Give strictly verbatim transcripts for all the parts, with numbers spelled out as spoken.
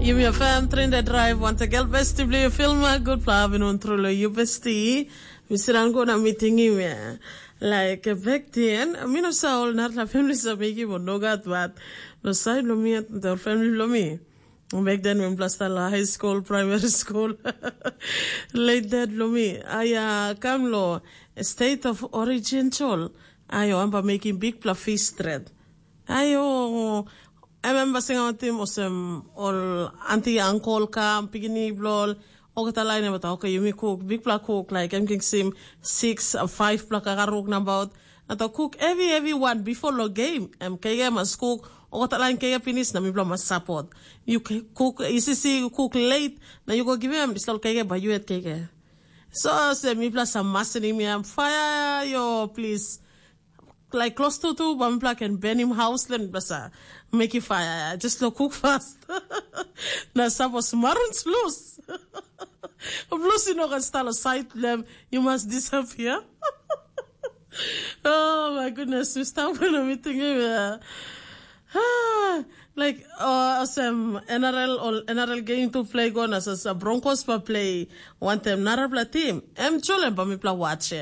Yumi FM Trinidad Drive, once again, besti bli filma, good pla avin un trulo yu besti. Mi sidan go na mi tingim ya. Like, back then, mi no sa ol narla family sa mekim o no gat, but no side lo mi, the family lo mi. Back then, when plastal high school, primary school, late dad lo mi. Aya, kam lo state of origin chol. Ayo, amba making big pla fish thread. Ayo, em em basing autim osem ol auntie, uncle kam, pikinini bilong ol, olgeta lain em tok, okay, yumi kuk, bikpela kuk, like em king sim six, uh, five pela kakaruk nabaut. Na tok kuk heavy, heavy one before lo game. Em kege mas kuk, olgeta lain kege pinis na mipela mas support. You kuk, isisi, you kuk late, na you go give em, disol kege by you at kege. So se mipela sa masinim ya, fire yo, please. Like close to tu, ba mipela ken benim house len basa. Make it fire, just lo cook fast. Na suppose marun lose. Plus you know can start a side them, you must disappear. Oh my goodness, we start when I'm eating him. Yeah. Ah, like, uh, as um, N R L or N R L game to play go na sa Broncos pa play one time narapla team. Em chole pa mipla watch.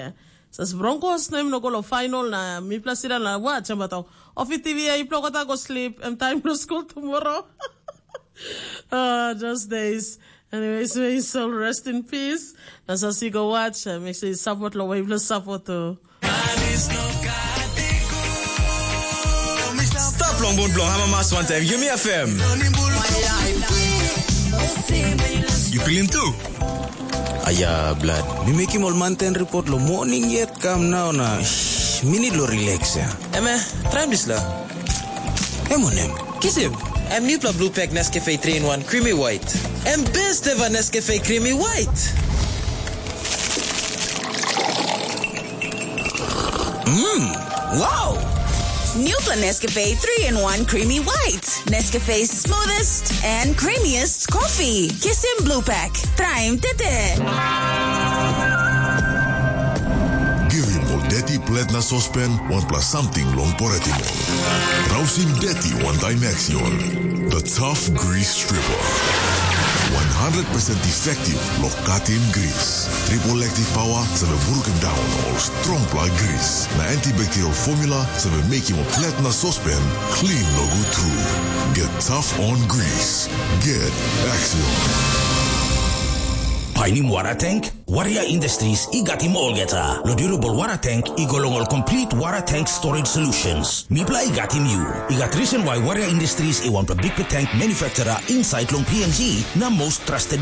Sas Broncos na im no go lo final na mipela sida na watch em batok. Ofi T V ya ipela kota go sleep em time no school tomorrow. Ah, those days. Anyways, may his soul rest in peace. Na sas you go watch, uh, make sure you support lo wave lo support to. Stap long bun bilong Hamamas wantaim Yumi F M. Yu pilim tu? Aya, blad. Mi mekim ol manten report lo morning yet kam nau na shh, minit lo relax ya. Eme, traim disla. Em wanem? Kisim. Em newpela blue pack Nescafe three in one Creamy White. Em best ever Nescafe Creamy White. Mmm, wow! Newpela Nescafe three in one Creamy White. Nescafe's smoothest and creamiest coffee. Kisim blue pack. Traim tete. Givim ol deti plet na sospen wanpela samting long poretim ol. Rausim deti wantaim Axion. The Tough Grease Stripper. One hundred percent effective lo katim gris. Triple active power save brukim daun ol strongpela gris. Na antibacterial formula save mekim ol plet na sospen clean nogut tru. Get tough on grease. Get Axion. Painim wara tank? Warrior Industries i gatim olgeta. Lo durable wara tank i go long ol complete wara tank storage solutions. Mipela i gatim yu. I gat reason why Warrior Industries i wanpela bikpela tank manufacturer inside long P N G na most trusted